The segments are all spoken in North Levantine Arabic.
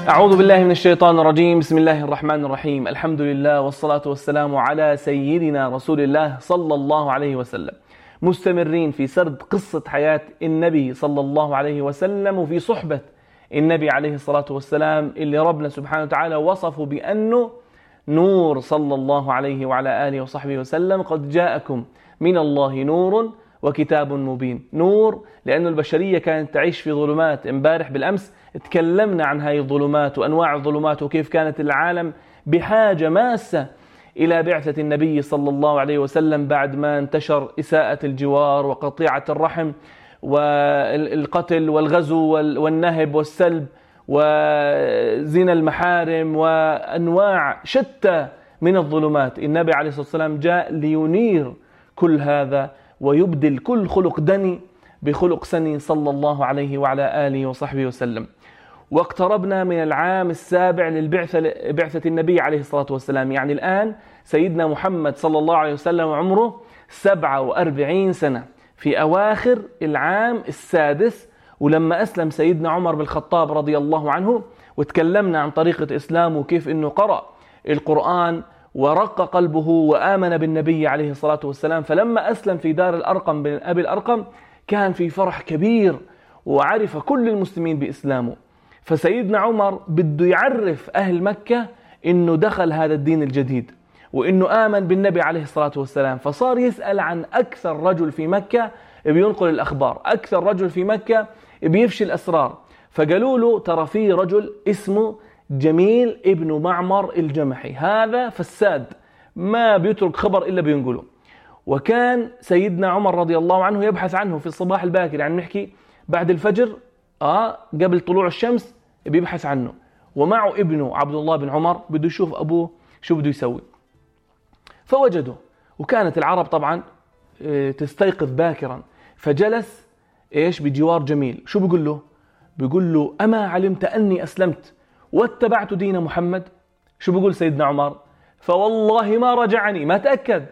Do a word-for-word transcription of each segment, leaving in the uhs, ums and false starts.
أعوذ بالله من الشيطان الرجيم. بسم الله الرحمن الرحيم. الحمد لله والصلاة والسلام على سيدنا رسول الله صلى الله عليه وسلم. مستمرين في سرد قصة حياة النبي صلى الله عليه وسلم وفي صحبة النبي عليه الصلاة والسلام اللي ربنا سبحانه وتعالى وصفه بأنه نور صلى الله عليه وعلى آله وصحبه وسلم. قد جاءكم من الله نور وكتاب مبين. نور لأنه البشرية كانت تعيش في ظلمات. امبارح بالأمس تكلمنا عن هاي الظلمات وأنواع الظلمات وكيف كانت العالم بحاجة ماسة إلى بعثة النبي صلى الله عليه وسلم بعد ما انتشر إساءة الجوار وقطيعة الرحم والقتل والغزو والنهب والسلب وزنا المحارم وأنواع شتى من الظلمات. النبي عليه الصلاة والسلام جاء لينير كل هذا ويبدل كل خلق دني بخلق سني صلى الله عليه وعلى آله وصحبه وسلم. واقتربنا من العام السابع للبعثة بعثة النبي عليه الصلاة والسلام. يعني الآن سيدنا محمد صلى الله عليه وسلم عمره سبعة وأربعين سنة في أواخر العام السادس. ولما أسلم سيدنا عمر بن الخطاب رضي الله عنه وتكلمنا عن طريقة إسلامه وكيف أنه قرأ القرآن ورق قلبه وآمن بالنبي عليه الصلاة والسلام. فلما أسلم في دار الأرقم بن أبي الأرقم كان في فرح كبير وعرف كل المسلمين بإسلامه. فسيدنا عمر بده يعرف أهل مكة إنه دخل هذا الدين الجديد وإنه آمن بالنبي عليه الصلاة والسلام. فصار يسأل عن أكثر رجل في مكة بينقل الأخبار، أكثر رجل في مكة بيفشي الأسرار. فقالوا له ترى في رجل اسمه جميل ابن معمر الجمحي، هذا فساد ما بيترك خبر إلا بينقله. وكان سيدنا عمر رضي الله عنه يبحث عنه في الصباح الباكر، يعني نحكي بعد الفجر آه قبل طلوع الشمس بيبحث عنه، ومعه ابنه عبد الله بن عمر بده يشوف أبوه شو بده يسوي. فوجده، وكانت العرب طبعا تستيقظ باكرا. فجلس إيش بجوار جميل. شو بيقول له؟ بيقول له أما علمت أني أسلمت واتبعت دين محمد؟ شو بيقول سيدنا عمر؟ فوالله ما رجعني، ما تأكد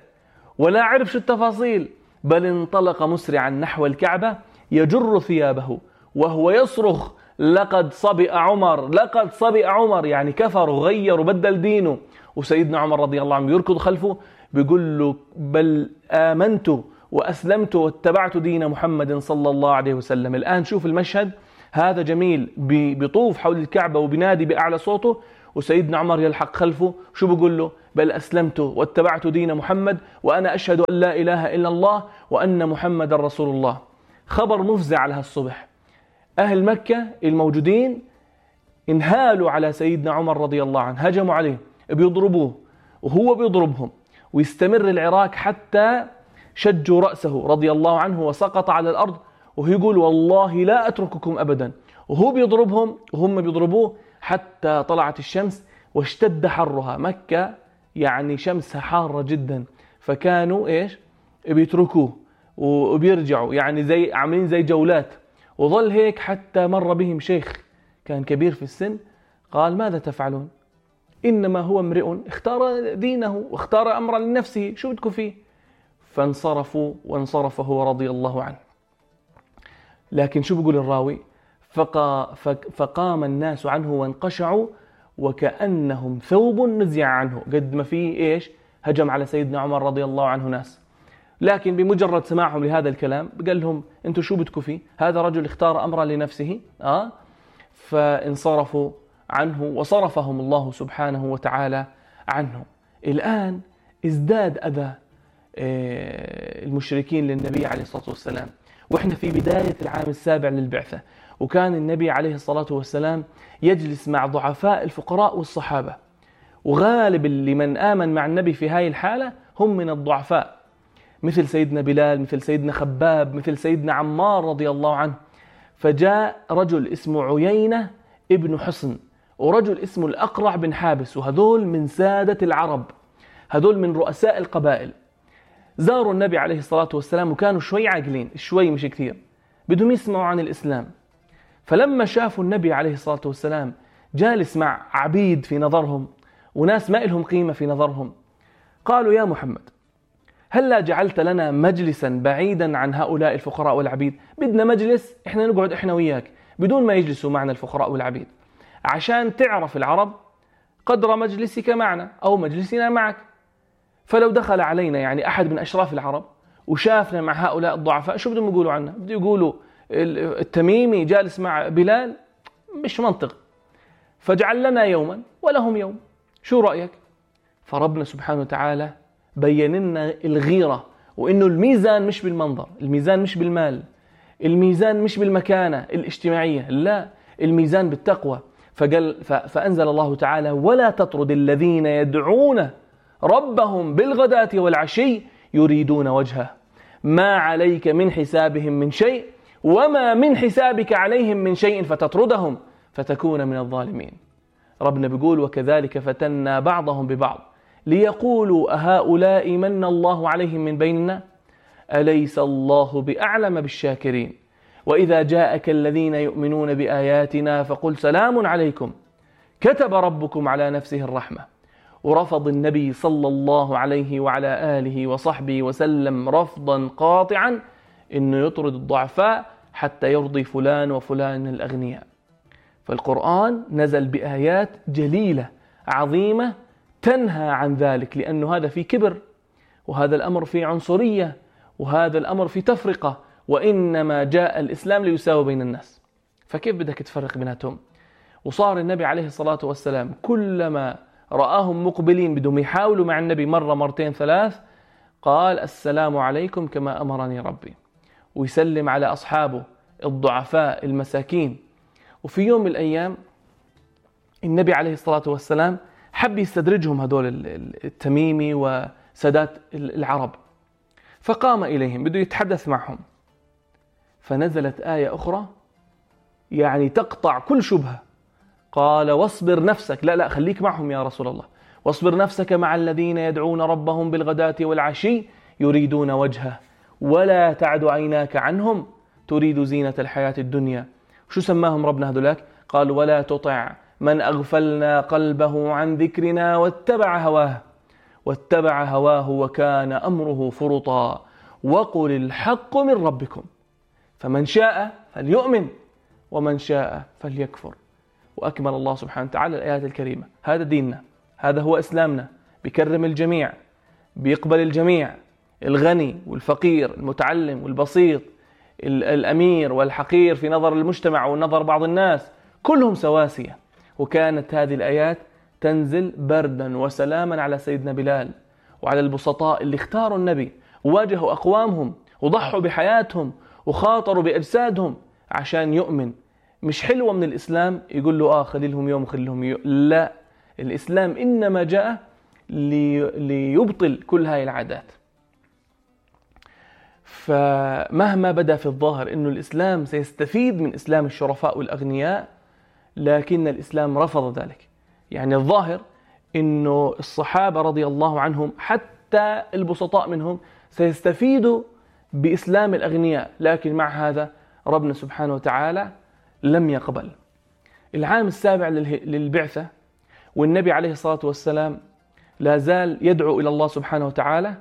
ولا عرف شو التفاصيل، بل انطلق مسرعا نحو الكعبة يجر ثيابه وهو يصرخ لقد صبئ عمر، لقد صبئ عمر، يعني كفر وغير وبدل دينه. وسيدنا عمر رضي الله عنه يركض خلفه بيقول له بل آمنت وأسلمت واتبعت دين محمد صلى الله عليه وسلم. الآن شوف المشهد، هذا جميل بيطوف حول الكعبة وبنادي بأعلى صوته، وسيدنا عمر يلحق خلفه. شو بيقول له؟ بل أسلمت واتبعت دين محمد وأنا أشهد أن لا إله إلا الله وأن محمد رسول الله. خبر مفزع على هالصبح. أهل مكة الموجودين انهالوا على سيدنا عمر رضي الله عنه، هجموا عليه بيضربوه وهو بيضربهم. ويستمر العراك حتى شجوا رأسه رضي الله عنه وسقط على الأرض، وهو يقول والله لا أترككم أبدا، وهو بيضربهم وهم بيضربوه حتى طلعت الشمس واشتد حرها. مكة يعني شمسها حارة جدا، فكانوا إيش بيتركوه وبيرجعوا، يعني زي عاملين زي جولات. وظل هيك حتى مر بهم شيخ كان كبير في السن، قال ماذا تفعلون؟ إنما هو امرئ اختار دينه واختار أمرا لنفسه، شو بدكم فيه؟ فانصرفوا وانصرف هو رضي الله عنه. لكن شو بيقول الراوي؟ فقا فقام الناس عنه وانقشعوا وكأنهم ثوب نزع عنه. قد ما فيه إيش هجم على سيدنا عمر رضي الله عنه ناس، لكن بمجرد سماعهم لهذا الكلام قال لهم انتوا شو بدكم فيه؟ هذا رجل اختار أمرا لنفسه. آه فانصرفوا عنه وصرفهم الله سبحانه وتعالى عنه. الآن ازداد أذى المشركين للنبي عليه الصلاة والسلام، وإحنا في بداية العام السابع للبعثة. وكان النبي عليه الصلاة والسلام يجلس مع ضعفاء الفقراء والصحابة، وغالب اللي من آمن مع النبي في هاي الحالة هم من الضعفاء، مثل سيدنا بلال، مثل سيدنا خباب، مثل سيدنا عمار رضي الله عنه. فجاء رجل اسمه عيينة ابن حصن ورجل اسمه الأقرع بن حابس، وهذول من سادة العرب، هذول من رؤساء القبائل. زاروا النبي عليه الصلاة والسلام وكانوا شوي عاقلين، شوي مش كثير، بدهم يسمعوا عن الإسلام. فلما شافوا النبي عليه الصلاة والسلام جالس مع عبيد في نظرهم وناس ما إلهم قيمة في نظرهم، قالوا يا محمد هلا جعلت لنا مجلسا بعيدا عن هؤلاء الفقراء والعبيد؟ بدنا مجلس احنا نقعد احنا وياك بدون ما يجلسوا معنا الفقراء والعبيد. عشان تعرف العرب قدر مجلسك معنا أو مجلسنا معك. فلو دخل علينا يعني أحد من أشراف العرب وشافنا مع هؤلاء الضعفاء، شو بدهم يقولوا عنا؟ بدهم يقولوا التميمي جالس مع بلال، مش منطق. فاجعل لنا يوما ولهم يوم، شو رأيك؟ فربنا سبحانه وتعالى بين لنا الغيرة، وإنه الميزان مش بالمنظر، الميزان مش بالمال، الميزان مش بالمكانة الاجتماعية، لا، الميزان بالتقوى. فقال فأنزل الله تعالى: ولا تطرد الذين يدعون ربهم بالغداة والعشي يريدون وجهه ما عليك من حسابهم من شيء وما من حسابك عليهم من شيء فتطردهم فتكون من الظالمين. ربنا بيقول: وكذلك فتنا بعضهم ببعض ليقولوا أهؤلاء من الله عليهم من بيننا أليس الله بأعلم بالشاكرين وإذا جاءك الذين يؤمنون بآياتنا فقل سلام عليكم كتب ربكم على نفسه الرحمة. ورفض النبي صلى الله عليه وعلى آله وصحبه وسلم رفضا قاطعا إنه يطرد الضعفاء حتى يرضي فلان وفلان من الأغنياء. فالقرآن نزل بآيات جليلة عظيمة تنهى عن ذلك، لأنه هذا في كبر، وهذا الأمر في عنصرية، وهذا الأمر في تفرقة، وإنما جاء الإسلام ليساوي بين الناس. فكيف بدك تفرق بيناتهم؟ وصار النبي عليه الصلاة والسلام كلما رآهم مقبلين بدهم يحاولوا مع النبي مرة مرتين ثلاث قال: السلام عليكم كما أمرني ربي، ويسلم على أصحابه الضعفاء المساكين. وفي يوم من الأيام النبي عليه الصلاة والسلام حب يستدرجهم هدول التميمي وسادات العرب، فقام إليهم بده يتحدث معهم، فنزلت آية أخرى يعني تقطع كل شبهة. قال: واصبر نفسك، لا لا خليك معهم يا رسول الله، واصبر نفسك مع الذين يدعون ربهم بالغداة والعشي يريدون وجهه ولا تعد عيناك عنهم تريد زينة الحياة الدنيا. شو سماهم ربنا هذولاك؟ قال: ولا تطع من أغفلنا قلبه عن ذكرنا واتبع هواه واتبع هواه وكان أمره فرطا وقل الحق من ربكم فمن شاء فليؤمن ومن شاء فليكفر. وأكمل الله سبحانه وتعالى الآيات الكريمة. هذا ديننا، هذا هو إسلامنا، بيكرم الجميع، بيقبل الجميع، الغني والفقير، المتعلم والبسيط، الأمير والحقير في نظر المجتمع ونظر بعض الناس، كلهم سواسية. وكانت هذه الآيات تنزل بردا وسلاما على سيدنا بلال وعلى البسطاء اللي اختاروا النبي وواجهوا أقوامهم وضحوا بحياتهم وخاطروا بأجسادهم عشان يؤمن. مش حلوة من الإسلام يقول له آه خلي لهم يوم خلي لهم يوم، لا، الإسلام إنما جاء لي ليبطل كل هاي العادات. فمهما بدا في الظاهر إنه الإسلام سيستفيد من إسلام الشرفاء والأغنياء، لكن الإسلام رفض ذلك. يعني الظاهر إنه الصحابة رضي الله عنهم حتى البسطاء منهم سيستفيدوا بإسلام الأغنياء، لكن مع هذا ربنا سبحانه وتعالى لم يقبل. العام السابع للبعثة والنبي عليه الصلاة والسلام لا زال يدعو إلى الله سبحانه وتعالى،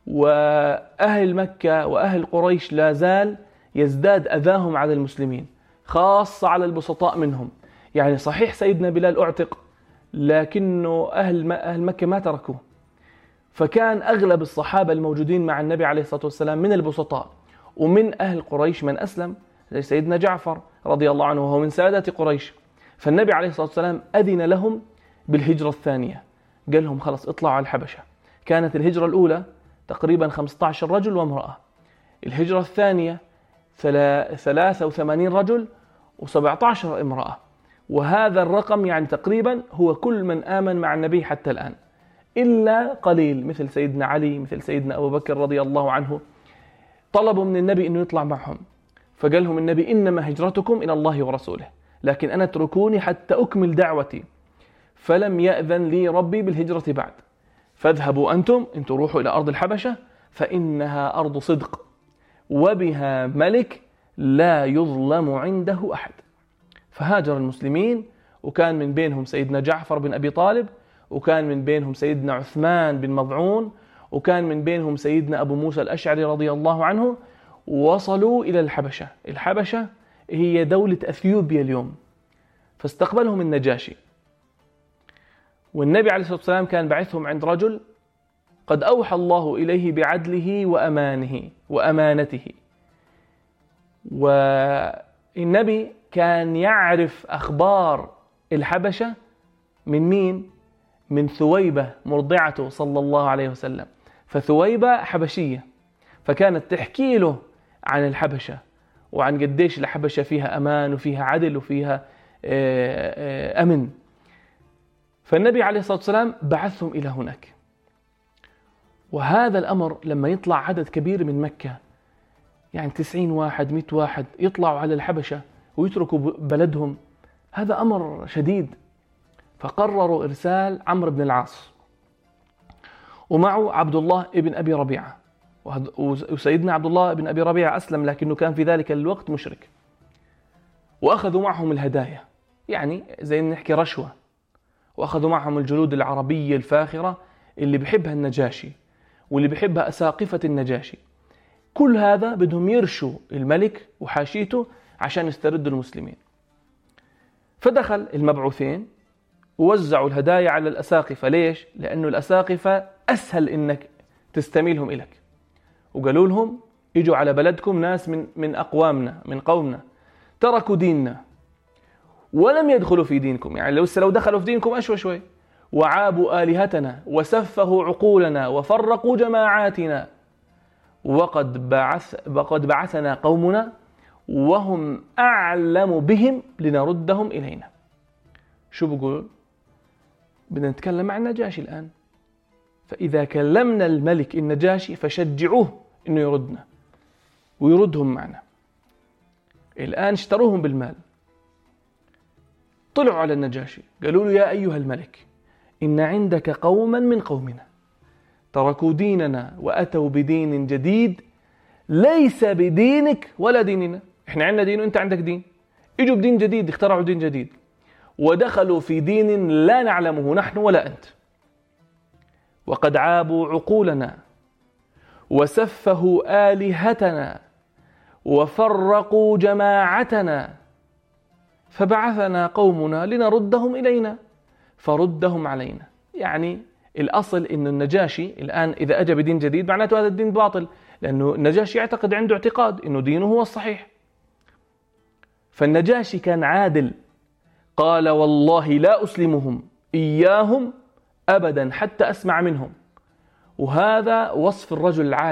وأهل مكة وأهل قريش لا زال يزداد أذاهم على المسلمين، خاصة على البسطاء منهم. يعني صحيح سيدنا بلال أعتق، لكنه أهل أهل مكة ما تركوه. فكان أغلب الصحابة الموجودين مع النبي عليه الصلاة والسلام من البسطاء، ومن أهل قريش من أسلم زي سيدنا جعفر رضي الله عنه وهو من سادة قريش. فالنبي عليه الصلاة والسلام أذن لهم بالهجرة الثانية، قال لهم خلص اطلعوا على الحبشة. كانت الهجرة الأولى تقريبا خمسة عشر رجل وامرأة، الهجرة الثانية ثلاثة وثمانين رجل وسبعة عشر امرأة، وهذا الرقم يعني تقريبا هو كل من آمن مع النبي حتى الآن، إلا قليل مثل سيدنا علي، مثل سيدنا أبو بكر رضي الله عنه، طلبوا من النبي أنه يطلع معهم، فقال لهم النبي إنما هجرتكم إلى الله ورسوله، لكن أنا اتركوني حتى أكمل دعوتي، فلم يأذن لي ربي بالهجرة بعد، فاذهبوا أنتم أنتم روحوا إلى أرض الحبشة فإنها أرض صدق وبها ملك لا يظلم عنده أحد. فهاجر المسلمين، وكان من بينهم سيدنا جعفر بن أبي طالب، وكان من بينهم سيدنا عثمان بن مظعون، وكان من بينهم سيدنا أبو موسى الأشعري رضي الله عنه. وصلوا إلى الحبشة. الحبشة هي دولة أثيوبيا اليوم. فاستقبلهم النجاشي، والنبي عليه الصلاة والسلام كان بعثهم عند رجل قد أوحى الله إليه بعدله وأمانه وأمانته، والنبي كان يعرف أخبار الحبشة من مين؟ من ثويبة مرضعته صلى الله عليه وسلم. فثويبة حبشية، فكانت تحكي له عن الحبشة وعن قديش الحبشة فيها أمان وفيها عدل وفيها أمن. فالنبي عليه الصلاة والسلام بعثهم إلى هناك. وهذا الأمر لما يطلع عدد كبير من مكة، يعني تسعين واحد مئة واحد يطلعوا على الحبشة ويتركوا بلدهم، هذا أمر شديد. فقرروا إرسال عمرو بن العاص ومعه عبد الله ابن أبي ربيعة، وسيدنا عبد الله ابن أبي ربيعة أسلم لكنه كان في ذلك الوقت مشرك، وأخذوا معهم الهدايا، يعني زي نحكي رشوة، وأخذوا معهم الجلود العربية الفاخرة اللي بحبها النجاشي واللي بحبها أساقفة النجاشي. كل هذا بدهم يرشوا الملك وحاشيته عشان يستردوا المسلمين. فدخل المبعوثين ووزعوا الهدايا على الأساقفة. ليش؟ لأنه الأساقفة أسهل إنك تستميلهم إليك، وقالوا لهم يجوا على بلدكم ناس من من أقوامنا من قومنا تركوا ديننا ولم يدخلوا في دينكم، يعني لو لو دخلوا في دينكم أشوى شوي، وعابوا آلهتنا وسفهوا عقولنا وفرقوا جماعاتنا، وقد بعث وقد بعثنا قومنا وهم أعلم بهم لنردهم إلينا. شو بقول؟ بدنا نتكلم مع النجاشي الآن، فإذا كلمنا الملك النجاشي فشجعوه إنه يردنا ويردهم معنا. الآن اشتروهم بالمال، طلعوا على النجاشي قالوا له يا أيها الملك إن عندك قوما من قومنا تركوا ديننا وأتوا بدين جديد ليس بدينك ولا ديننا. إحنا عندنا دين وإنت عندك دين، إجوا بدين جديد، اخترعوا دين جديد ودخلوا في دين لا نعلمه نحن ولا أنت، وقد عابوا عقولنا وسفهوا آلهتنا وفرقوا جماعتنا، فبعثنا قومنا لنردهم إلينا فردهم علينا. يعني الأصل إنه النجاشي الآن إذا أجى بدين جديد معناته هذا الدين باطل، لأنه النجاشي يعتقد عنده اعتقاد إنه دينه هو الصحيح. فالنجاشي كان عادل، قال والله لا أسلمهم إياهم أبدا حتى أسمع منهم. وهذا وصف الرجل العادل.